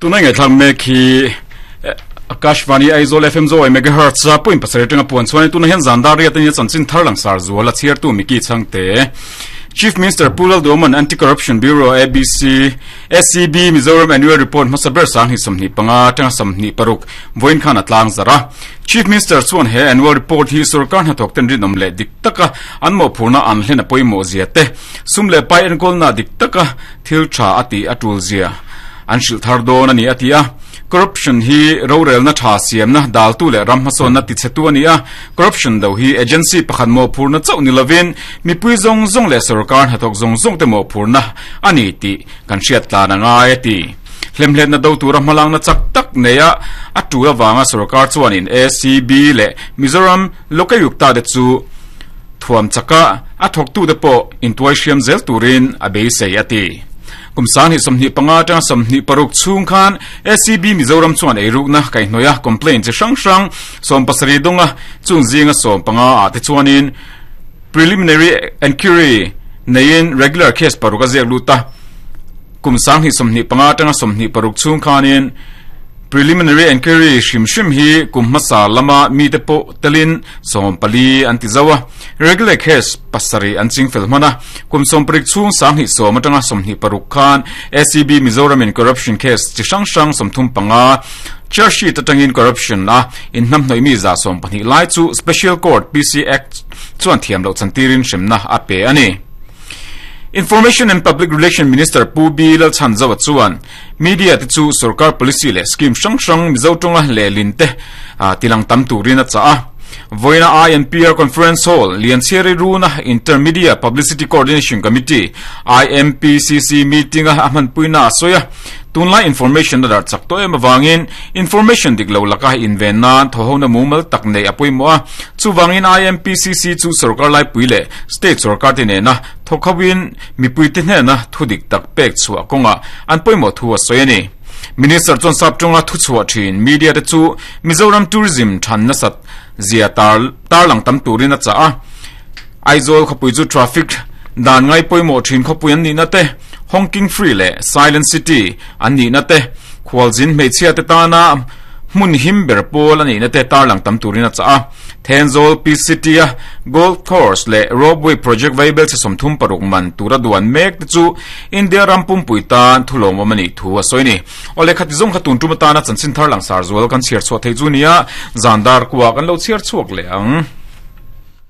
Tuna ngaihthlak mek hi Akashvani Aizawl FM Zawai Megahertz a point pasarih atanga puan chuan tuna hian zan dar riat ania chanchin thar langsar zual a chhiartu Mickey Chhangte. Chief Minister Pu Lalduaman Anti-Corruption Bureau ABC SCB Mizoram Annual Report hmasa ber sang hi 25 atanga 26 vawiin khan a tlang zar a. Chief Minister chuan he annual report hi sorkar hnathawk ten rinawm leh dik taka an mawhphurhna an hlen a pawimawh zia te, sum leh pai enkawlna dik taka thil tha a tih a tul zia an hrilh thar dawn a ni a ti a. Corruption hi rorelna tha siamna daltu leh ram hmasawnna tichhetu a ni a, corruption do hi agency pakhat mawhphurhna chauh ni lovin mipui zawng zawng leh sorkar hnathawk zawng zawng te mawhphurhna a ni tih kan hriat tlan a ngai a ti. Hlemhletna do tura hmalakna chak tak neia a tul avanga sorkar chuanin ACB leh Mizoram Lokayukta te chu thuam chaka a thawktute pawh intuai hriam zel turin a beisei a ti. Kum 2025 atanga 26 chhung khan ACB Mizoram chuan eirukna kaihhnawih a complaint chi hrang hrang 70 dawnga chung zinga 15 ah te chuanin preliminary enquiry neiin regular case paruk a ziak lut a. Kum 2025 atanga 26 chhung khanin preliminary enquiry hrim hrim hi kum hmasa lama mite pawh telin 14 an ti zo a, regular case pasarih an chingfel hman a. Kum 70 chhung 20 atanga 26 khan ACB Mizoramin corruption case chi hrang hrang 35 charge sheet atangin corruption a inhnamhnawih mi 12 lai chu Special Court PC Act chuan thiam loh chantirin hremna a pe a ni. Information and Public Relation Minister Pu B Lalchhanzawa chuan media te chu sorkar policy leh scheme hrang hrang Mizo tawnga lehlin te tilang tam turin a chah a. Vawiina INPR Conference Hall, Lianchhiari Runa Intermedia Publicity Coordination Committee, IMPCC, meeting a a hmanpuina a sawi a. Tunlai information a darh chak tawh em avangin information dik lo laka inven nan thawhona mumal tak neih a pawimawh a. Chuvangin IMPCC chu sorkar laipui leh state sorkar te nena thawk hoin mipuite hnena thu dik tak pek chhuah kawngah an pawimawh thu a sawi a ni. Minister chuan sap tawnga thu chhuah thin media te chu Mizoram tourism than nasat zia tar tarlang tam turin a chah a. Aizawl khawpui chu traffic dan ngai pawimawh thin khawpui an nihna te, Honking Free leh Silent City an nihna te, khualzin hmeichhia te tana hmun him ber pawl a nihna te tarlang tam turin a chah a. Thenzawl Peace City a Golf Course leh Ropeway Project vaibel chhe 36 man tura duan mek te chu India ram pumpui tan thulawmawm a nih thu a sawi a ni. Awle khati zawng kha tun tum atana chanchin thar langsar zual kan chhiar chhuah theih chu nia, zan dar kuah kan lo chhiar chhuak leh ang.